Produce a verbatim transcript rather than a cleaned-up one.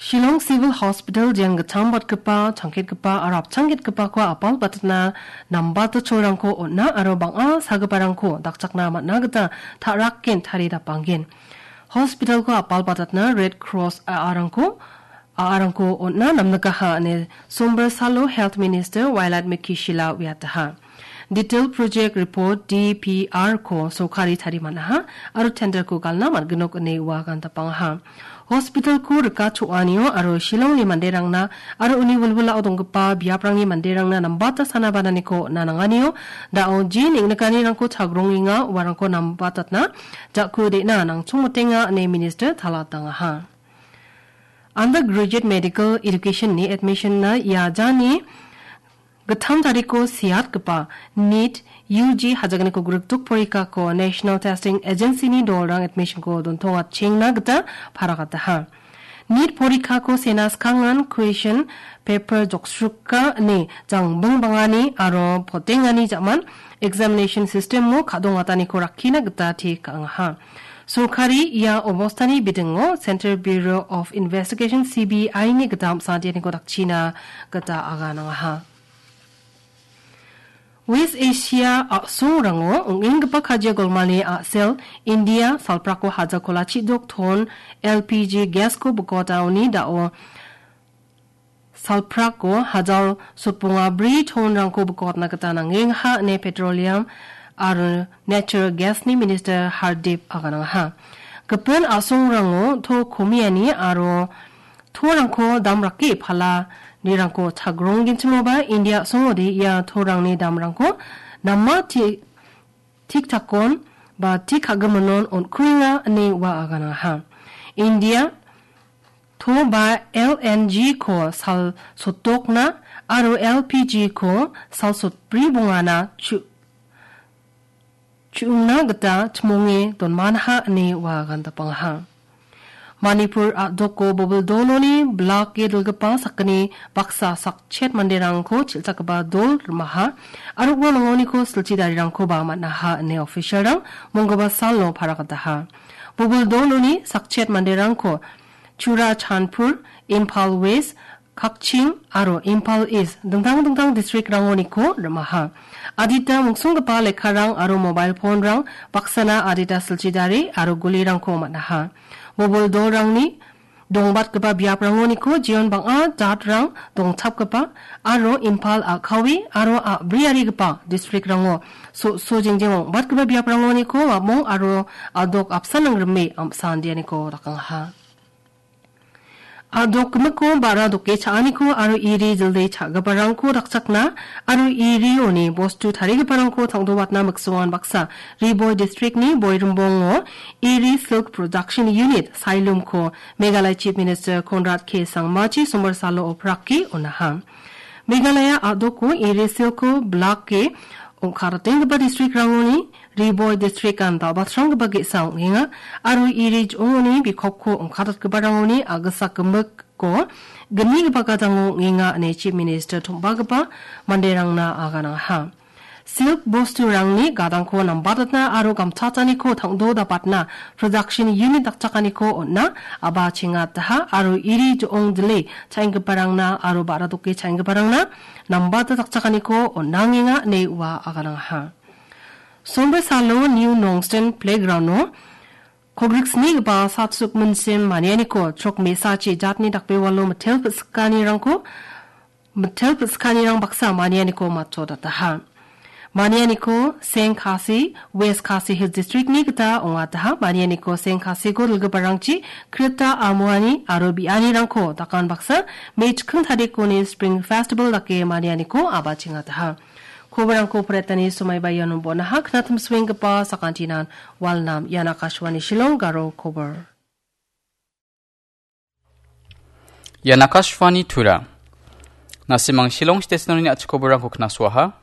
Shillong Civil Hospital jang gitcham batgipa, changketgipa aro apchangketgipako apal batatna nambata cholrangko on·a aro bang·a sagiparangko dakchakna man·a gita ta·raken tarie dapanggen. Hospitalko apal batatna Red Cross a·arangko, a·arangko on·a namnikaha ine Sombar salo Health Minister Wailadmiki Shylla uiataha. Detail Project Report, D P R, ko sorkari tarie man·aha aro tenderko galna man·ginok ine ua agandapangaha. Hospitalko rika cho·anio aro Shillongni manderangna aro uni wilwilao donggipa biaprangni manderangna nambata sana bananiko on·a nanganio da·o je neng·nikanirangko chagrongenga uarangko nambatatna ja·ku de·na nangchongmotenga ine Minister talatangaha. Undergraduate Medical Education-ni admission-na ia jani gittam tariko seatgipa NEET U G hajaganiko grikdok porikako National Testing Agency-ni dolrang admission-ko dontongatchengna gita paragataha. NEET porikako sena skangan question paper joksruka ine jangbing bangani aro potengani ja·man examination system-o ka·dongataniko rakkina gita te ka·angaha. Sorkari ia obostani bidingo Central Bureau of Investigation, C B I-ni gita amsantianiko dakchina gita aganangaha. West Asia a·songrango ong·enggipa kajia golmani a·sel India salprako haja kolachi dok ton L P G gas-ko bikotaoni da·o salprako hajal sotbonga bri tonrangko bikotna gita nangengaha ine Petroleum aro Natural Gas-ni Minister Hardeep aganangaha. Gipin a·songrango to komiani aro torangko damrake palanirangko chagronggenchimoba India a·songode ia torangni damrangko nama ti-, tik takon ba tik ka·giminon on·kuenga ine ua aganangaha. India to ba L N G-ko sal sotdokna aro L P G-ko sal sotbri bongana chu-, chu·ongna gita chimonge donmanaha ine ua agandapangaha. Manipur a·doko Bobil doloni block-e dilgipa sakgni baksa sakchet manderangko chilchakgipa dol rimaha aro ua mangoniko silchi darirangkoba man·aha ine official-rang monggipa salo paragataha. Bobil doloni sakchet manderangko Churachandpur, Imphal West, Kakching aro Imphal East dingtang dingtang district-rangoniko rimaha. Adita mungsonggipa lekkarang aro mobile phone-rang baksana adita silchi dari aro gulirangko man·aha. Bobil dolrangni dongbatgipa biaprangoniko jeon bang·a jatrang dongchapgipa aro Imphal a·kawe aro a·briarigipa district-rango so-, so jengjeng ong·batgipa biaprangoniko a·mong aro a·dok apsan nangrime am·sandianiko dakangaha. A·dok gimikko ba·ra doke cha·aniko aro iri jilde cha·giparangko dakchakna aro irioni bostu tarigiparangko tangdobatna miksongan baksa Ri Bhoi district-ni Boirimbongo Iri Silk Production Unit Sailumko Meghalaya Chief Minister Conrad K Sangmachi sombar salo oprake on·aha. Meghalaya a·doko iri silko block-e ong·karatenggipa district-rangoni Ri Bhoi district-an dal·batranggipa ge·sa ong·enga aro iri jo·ongoni bikopko ong·karatgiparangoni a·gisa gimikko gnigipa gadango ong·enga ine Chief Minister tom·bagipa manderangna aganangaha. Silk bosturangni gadangko nambatatna aro gamchataniko tangdo dapatna production unit dakchakaniko on·a aba chengataha aro iri jo·ong dile cha·enggiparangna aro ba·ra doke cha·enggiparangna nambata dakchakaniko on·angenga ine ua aganangaha. Sombar salo New Nongstoin Playground-o kogriksnigipa Satsuk Minsim manianiko chrok me·sachi jatni dakbewalo mitel pisikanirangko mitel pisikanirang baksa manianiko matchotataha. Manianiko Seng Khasi, West Khasi Hills District-ni gita ong·ataha. Manianiko Seng Khasiko dilgiparangchi krita amuani aro bianirangko dakan baksa me chikking tarikoni Spring Festival dake manianiko abachengataha. Koborangko poretani somaiba iano bon·aha. Knatim suenggipa sakantinan walnam ian Akashvani Shillong Garo kobor. Ian Akashvani Tura. Nasimang Shillong Station-oni a·chik koborangko knasoaha.